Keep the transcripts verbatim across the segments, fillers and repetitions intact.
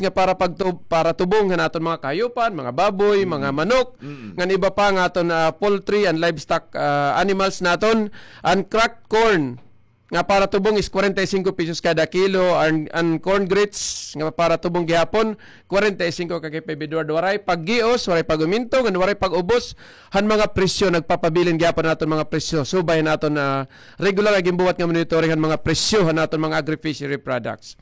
nga para pagtub-, para tubong han aton mga kahayupan, mga baboy, mga manok, ngan iba pa nga aton, ah, poultry and livestock, ah, animals naton, an cracked corn nga para tubong is kwarenta y singko pesos kada kilo, an, an corn grits nga para tubong gihapon, kwarenta y singko ka K five Edward. Waray paggios, waray pag-uminto, ngan waray pag-ubos han mga presyo, nagpapabilin gihapon an aton mga presyo. Subay han aton, ah, regular nga ginbuhat nga monitoring han mga presyo han aton mga agri-fishery products.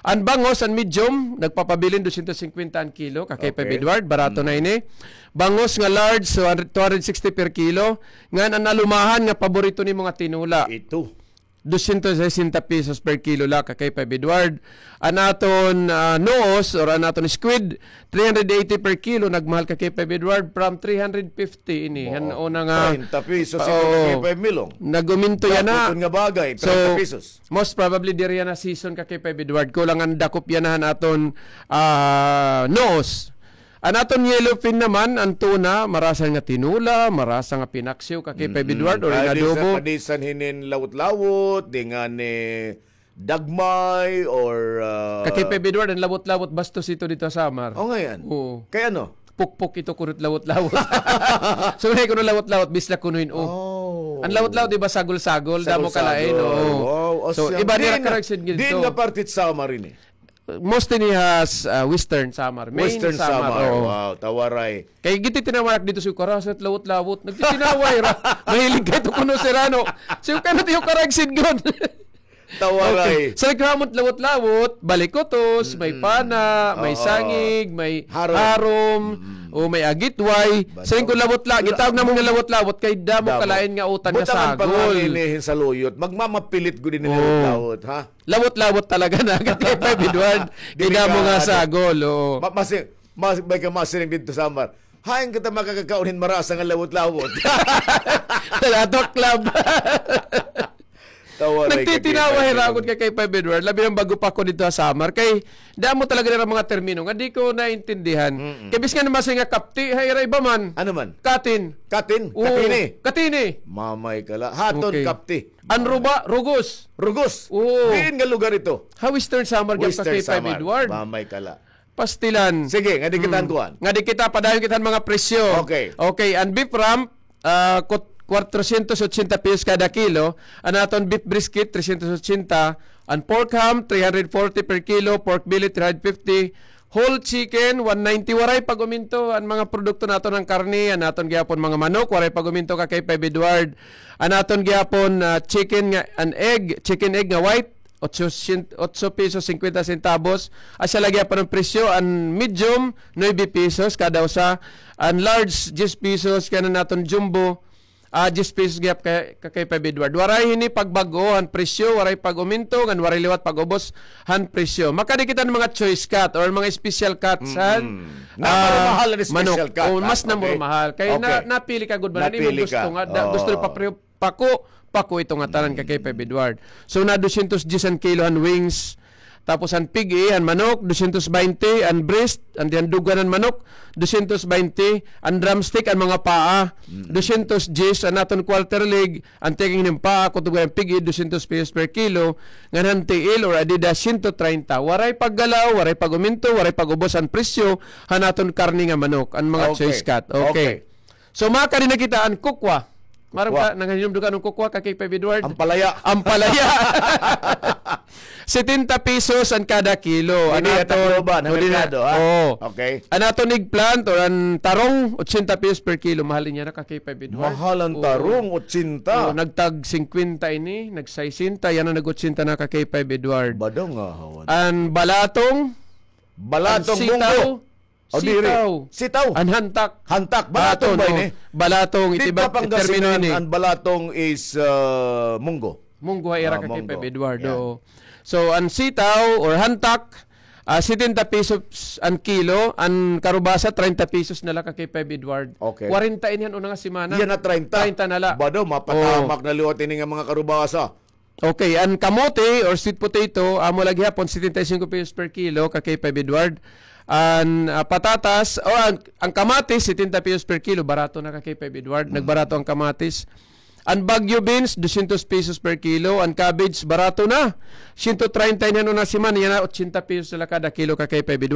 An bangus, an medium, nagpapabilin dosyentos singkwenta an kilo, ka K five Edward, barato na ini. Bangus nga large, so, two hundred sixty per kilo. Ngan an alumahan nga paborito nimo nga tinula. Ito. Dosyentos sesenta pesos per kilo la, ka K five Edward. An aton, ah, noos or an aton squid, three hundred eighty per kilo, nagmahal, ka K five Edward, from three hundred fifty ini. Han una nga treinta pesos ito, ka K five Milong. Nag-uminto yana. Daputon nga bagay, treinta pesos. Most probably, diri yana season, ka K five Edward. Kulang an dakop yana han aton, ah, noos. An aton yellowfin naman, an tuna, marasa nga tinula, marasa nga pinaksiw, ka K five Edward, or in adobo. Padisan hinin lawot-lawot, di ngani dagmay, or, ah, ka K five Edward, an lawot-lawot, bastos ito didto ha Samar. O, ngay-an. Oo. Kay ano? Pukpok ito kuno it lawot-lawot. So, may kuno lawot-lawot, bisla kuno hin, o. An lawot-lawot, di ba, sagol-sagol, damo kalain, o. Wow. So, iba nira karagsid didto. Diin nga parte it Samar ini? Mostly ini ha, ah, Western Samar. Main Western Samar, Samar, oo. Wow, tawaray. Kay gintitinawa ak didto, si Karasit, lawot-lawot. Nagtitinawa hira. Mahilig kay ito kuno sira, no? Si Karasit, iyo karagsid gud. Tawaray. Okay. Sa naghamot lawot-lawot, balikutos, may pana, may sangig, may harom, o may agitway. Sa lingkod lawot-lawot, gitawag namon nga lawot-lawot, kay damo kalain nga utan nga sagol. Butangan pa nga ini hin saluyot. Magmamapilit gud ini lawot-lawot, ha? Lawot-lawot talaga na, ka K five Edward. Kay damo nga sagol, oo. Ma-, masi-, mas-, may ka masiring didto Samar. Hain kita makakakaon hin marasa nga lawot-lawot? Sa Latok Club. Tawaray, ka K five Edward. Nagtitinawa hira gud, ka K five Edward. Labi na bag-o pa ako didto ha Samar. Kay damo talaga nira mga termino nga di ko naintindihan. Kay bisan nga masiring nga kapti, ha ira iba man. Ano man? Katin. Katin? Oo. Katini? Katini. Mamay ka la. Ha aton kapti. An ruba, rugos. Rugos. Oo. Diin nga lugar ito? Ha Western Samar, gihap, ka K five Edward. Mamay ka la. Pastilan. Sige, ngadi kita han kuan. Ngadi kita, padayon kita han mga presyo. Okay. Okay, an beef rump, ah, kut-, kwatrosyentos otsenta pesos kada kilo. An aton beef brisket, tresyentos otsenta. An pork ham, three hundred forty per kilo. Pork belly, three hundred fifty. Whole chicken, one ninety. Waray pag-uminto an mga produkto naton, an karne, an aton gihapon mga manok, waray pag-uminto, ka K five Edward. An aton gihapon, ah, chicken nga, an egg, chicken egg nga white, otso syen-, otso pesos singkwenta sentabos. Asya la gihapon an presyo, an medium, nuebe pesos kada usa, an large, diyes pesos, kay an aton jumbo, ah, diyes pesos gihap, ka, ka K five Edward. Waray hini pagbag-o han presyo, waray pag-uminto, ngan waray liwat pag-ubos han presyo. Makadi kita han mga choice cut or mga special cuts han, ah, manok. Namurumahal an special cut, ha? O, mas namurumahal. Kay na-, napili ka gud ba? Napili ka. Gusto nga, da-, gusto pa pre-, pako, pako ito nga tanan, ka K five Edward. So, na dosyentos diyes an kilo han wings, tapos an pig-i, an manok, dosyentos baynte, an breast, an, an dugan han manok, dosyentos baynte, an drumstick, an mga paa, dosyentos diyes, an aton quarter leg, an tiyaking hin paa, kutob han pig-i, dosyentos pesos per kilo, ngan han tiil or adida, syentos treinta. Waray paggalaw, waray pag-uminto, waray pag-ubos an presyo han aton karne nga manok, an mga choice cut. Okay. So, makadi na kita an kukwa. Maaram ka, nanghihinumdom ka hin kukwa, ka K five Edward? Ampalaya. Ampalaya. Setenta pesos an kada kilo. An aton, Tacloban, ha merkado, ha? Oo. Okay. An aton eggplant or an tarong, otsenta pesos per kilo. Mahal ini yana, ka K five Edward. Mahal an tarong, otsenta. Oo, nagtag singkwenta ini, nagsaysenta, yana nag-otsenta na, ka K five Edward. Badong nga hawan. An balatong, balatong, an munggo. Sitaw. O, diri. Sitaw. Sitaw. An hantak. Hantak. Barato ba ini? Balatong, itiba, termino ini. Didto ha Pangasinan, an balatong is, ah, munggo. Munggo ha ira, ka K five Edward, oo. So, an sitaw or hantak, ah, setenta pesos an kilo, an karubasa, treinta pesos na la, ka K five Edward. Okay. Kwarenta ini han una nga semana. Yana, treinta. Treinta na la. Bado, mapatamak na liwat ini nga mga karubasa. Okay, an kamote or sweet potato, amo la gihapon, setenta y cinco pesos per kilo, ka K five Edward. An, ah, patatas, o an, an kamatis, setenta pesos per kilo, barato na, ka K five Edward. Nagbarato an kamatis. An Baguio beans, dosyentos pesos per kilo. An cabbage, barato na. Syentos treinta ini han una semana, yana otsenta pesos na la kada kilo, ka K five Edward.